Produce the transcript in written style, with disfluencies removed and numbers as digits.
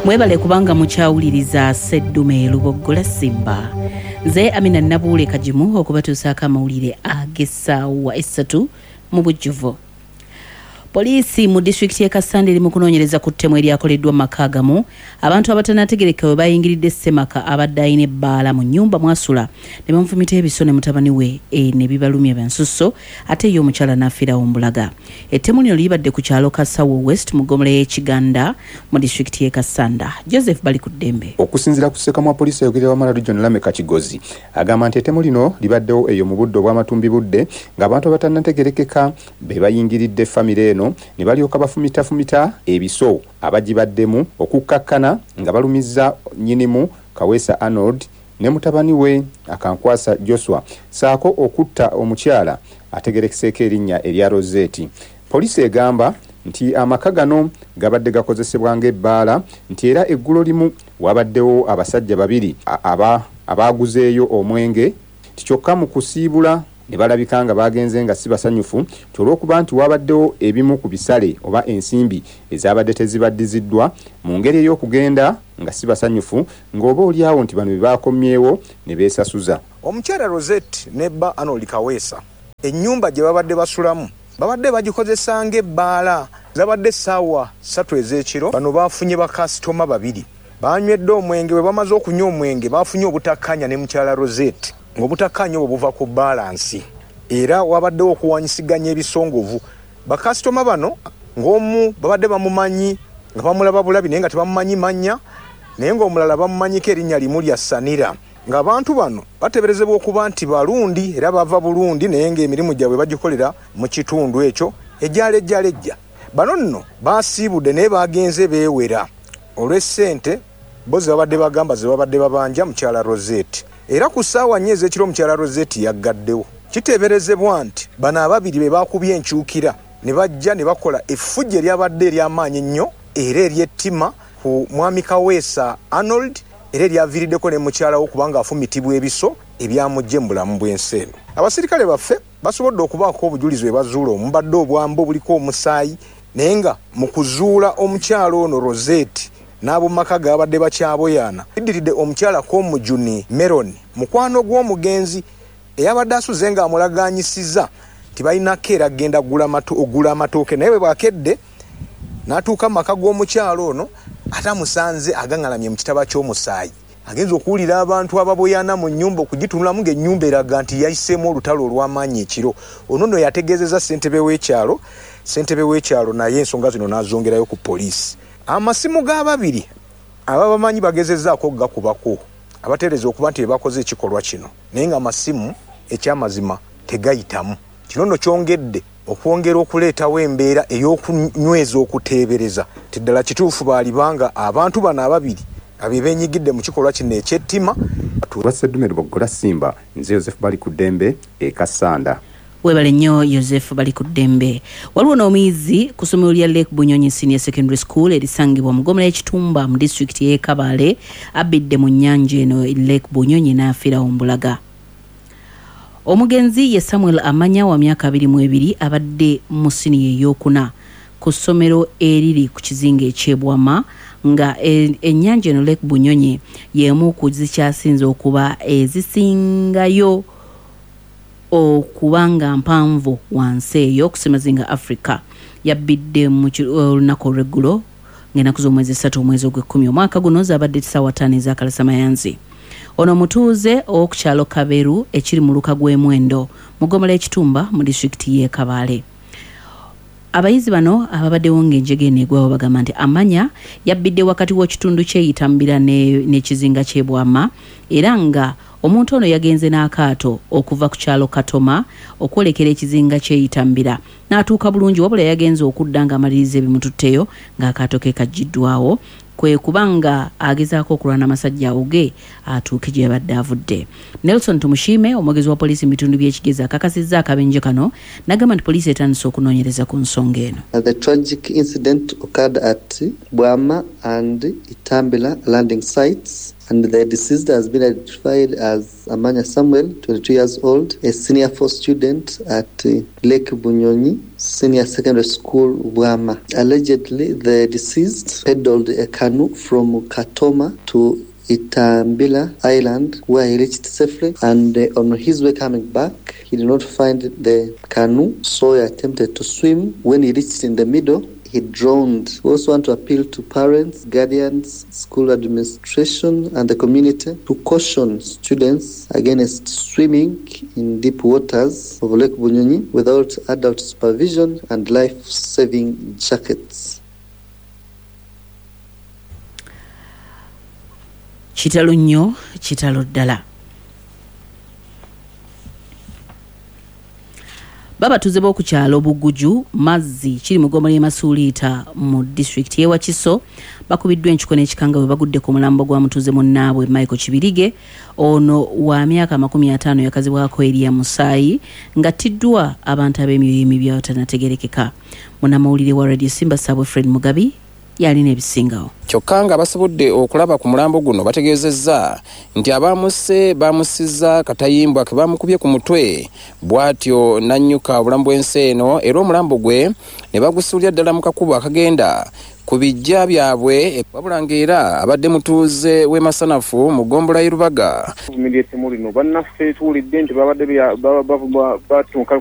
Mwebale kubanga mukyawuliriza Sseddume Luboggola Simba. Nze Amina Nabuule Kagimu okubatuusaako amawulire ag'essaawa essatu mu bujjuvu. Poliisi mu disitulikiti y'e Kassanda eri mu kunoonyereza ku ttemu eryakoleddwa mu maka agamu abantu abatanategerekeka we bayingiridde ssemaka abadde alina ebbaala mu nnyumba mw'asula ne bamufumita ebiso ne mutabani we e, ne bibalumya bya nsusso ate ye omukyala n'afiirawo mbulaga. Ettemu lino libadde ku kyalo Kasawo West mu ggombolola y'e Kiganda mu disitulikiti y'e Kassanda. Joseph Balikuddembe. Okusinziira ku ssekamwa poliisi ayogerera Wamala Region Lameka Kigozi agamba nti ettemu lino libaddewo eyo mu budde obw'amatumbibudde ng'abantu abatannategerekeka be bayingiridde famire eno ne balyoka bafumitafumita ebiso abagibaddemu okukkakkana nga balumizza nnyinimu Kaweesa Arnold ne mutabani we Akankwasa Josua ssaako okutta omukyala ategerekeseeko erinnya erya Rosette. Poliisi egamba nti amaka gano gabadde gakozesebwa ng'ebbaala nti era eggulo limu waabaddewo abasajja babiri abaaguzeeyo omwenge nti kyokka mu kusiibula ne balabika nga baagenze nga si basanyufu nti olw'okuba nti waabaddewo ebimu ku bisale oba ensimbi ezaabadde tezibaddiziddwa mu ngeri ey'okugenda nga si basanyufu ng'oba olyawo nti bano be baakomyewo ne beesasuza. Omukyala Rosette ne bba Arnold Kaweesa ennyumba gye babadde basulamu babadde bagikozesa ng'ebbaala. Zabadde ssaawa ssatu ez'ekiro, bano baafunye bakasitoma babiri baanywedde omwenge. Bwe bamaze okunywa omwenge baafunye obutakkaanya ne mukyala Rosette ng'obutakkaanya obwo buva ku bbaalansi era waabaddewo okuwaanyisiganya ebisongovu. Bakasitoma bano ng'omu babadde bamumanyi nga bamulaba bulabi naye nga tebamumanyi mannya naye ng'omulala bamumanyiko erinnya limu lya Sanira. Ng'abantu bano bateeberezebwa okuba nti Barundi era bava Burundi naye ng'emirimu gyabwe bagikolera mu kitundu ekyo ejjalejjalejja. Bano nno baasiibudde naye baagenze beewera olw'essente bo ze babadde bagamba ze babadde babanja mukyala Rosette. Era ku ssaawa nnya ez'ekiro mukyala Rosette yaggaddewo. Kiteeberezebwa nti bano ababiri be baakubye enkyukira ne bajja ne bakola effujjo eryabadde ery'amaanyi ennyo era ery'ettima ku Mwami Kaweesa Arnold era eryaviiriddeko ne mukyala we okuba ng'afumitibwa ebiso ebyamuggye mu bulamu bw'ensi eno. Abasirikale baffe basobodde okubaako obujulizi bwe bazuula omubadde obwambe obuliko omusaayi naye nga mu kuzuula omukyala ono Rosette n'ab'omu maka ge babadde bakyaboyaana kiddiridde omukyala Komujuni Meron mukwano gw'omugenzi eyabadde asuze ng'amulagaanyisiza nti balina keera kugenda okugula amatooke naye bwe bwakedde n'atuuka mu maka g'omukyala ono ate amusanze agaŋŋalamye mu kitaba ky'omusaayi. Agenze okuwulira abantu ababoyaana mu nnyumba okugitunulamu ng'ennyumba eraga nti yayiseemu olutalo olw'amaanyi ekiro. Ono nno yategeezezza ssentebe w'ekyalo, ssentebe w'ekyalo naye ensonga zino n'azongerayo ku poliisi. Amasimu g'ababiri ababamanyi bagezezzaako okugakubako abateebereza okuba nti be bakoze ekikolwa kino naye ng'amasimu ekyamazima tegayitamu. Kino nno kyongedde okwongera okuleetawo embeera ey'okunyweza okuteebereza nti ddala kituufu baaliba nga abantu bano ababiri nga be beenyigidde mu kikolwa kino eky'ettima. Lwa Sseddume Luboggola Ssimba, nze Yozefu Balikuddembe e Kassanda. Webale nnyo Yozefu Balikuddembe. Waliwo n'omuyizi ku ssomero lya Lake Bunyonyi Senior Secondary School erisangibwa mu ggombolola y'e Kitumba mu disitulikiti y'e Kabale abbidde mu nnyanja eno Lake Bunyonyi n'afiirawo mbulaga. Omugenzi ye Samuel Amanya wa myaka 22 abadde mu siniya ey'okuna ku ssomero eriri ku kizinga eky'e Bwama nga ennyanja eno Lake Bunyonyi y'emu ku zikyasinze okuba ezisingayo okuba nga mpanvu wansi eyo ku ssemazinga Africa. Yabbidde mu olunaku olw'eggulo ng'ennaku z'omwezi essatu omwezi ogw'ekkumi omwaka guno zaabadde ssaawa ttaano ez'akalasamayanzi. Ono mutuuze ow'oku kyalo Kaberu ekiri mu muluka gw'e Mwendo mu ggombolola y'e Kitumba mu disitulikiti y'e Kabale. Abayizi bano ababaddewo ng'enjega eno egwawo bagamba nti Amanya yabbidde wakati w'okitundu ky'e Itambira n'ekizinga ky'e Bwama era nga omuntu ono yagenze n'akaato okuva ku kyalo Katoma okwolekera ekizinga ky'e Itambira n'atuuka bulungi wabula yagenze okudda ng'amaliriza ebimututteyo ng'akaato ke kaggyiddwawo kwe kuba nga agezaako okulwana amasajja awuge atuuke gye yabadde avudde. Nelson Tumushime, omwogezi wa poliisi mu bitundu by'e Kigezi akakasizza akabenje kano n'agamba nti poliisi etandise okunoonyereza ku nsonga eno. The tragic incident occurred at Bwama and Itambila landing sites and the deceased has been identified as Amanya Samuel, 22 years old, a senior four student at Lake Bunyonyi. Senior Secondary School, Bwama. Allegedly, the deceased peddled a canoe from Katoma to Itambila Island, where he reached safely, and on his way coming back, he did not find the canoe, so he attempted to swim. When he reached in the middle, he drowned. We also want to appeal to parents, guardians, school administration, and the community to caution students against swimming in deep waters of Lake Bunyonyi without adult supervision and life-saving jackets. Kitalo nnyo, kitalo ddala. Babatuze b'oku kyalo Buguju Mazzi kiri mu ggombolola y'e Masuuliita mu disitulikiti y'e Wakiso bakubiddwa enkiko n'ekikanga bwe bagudde ku mulambo gwa mutuuze munnaabwe Michael Kibirige. Ono wa myaka 50 yakazibwako erya Musaayi ng'attiddwa abantu ab'emyoyo emibi abatanategeerekeka. Munnamawulire wa Radio Simba Ssaabwe Fred Mugabi yalina ebisingawo. Kyokka nga basobodde okulaba ku mulambo guno bategeezezza nti abamusse bamussizza katayimbwa ke bamukubye ku mutwe bw'atyo n'annyuka obulamu bw'ensi eno, era omulambo gwe ne bagusuulira ddala mu kakubo akagenda ku bijja byabwe, wabula ng'era abadde mutuuze w'e Masanafu mu ggombolola y'e Rubaga. Vumirira ettemu lino bannaffe tuwulidde nti babadde batuuka.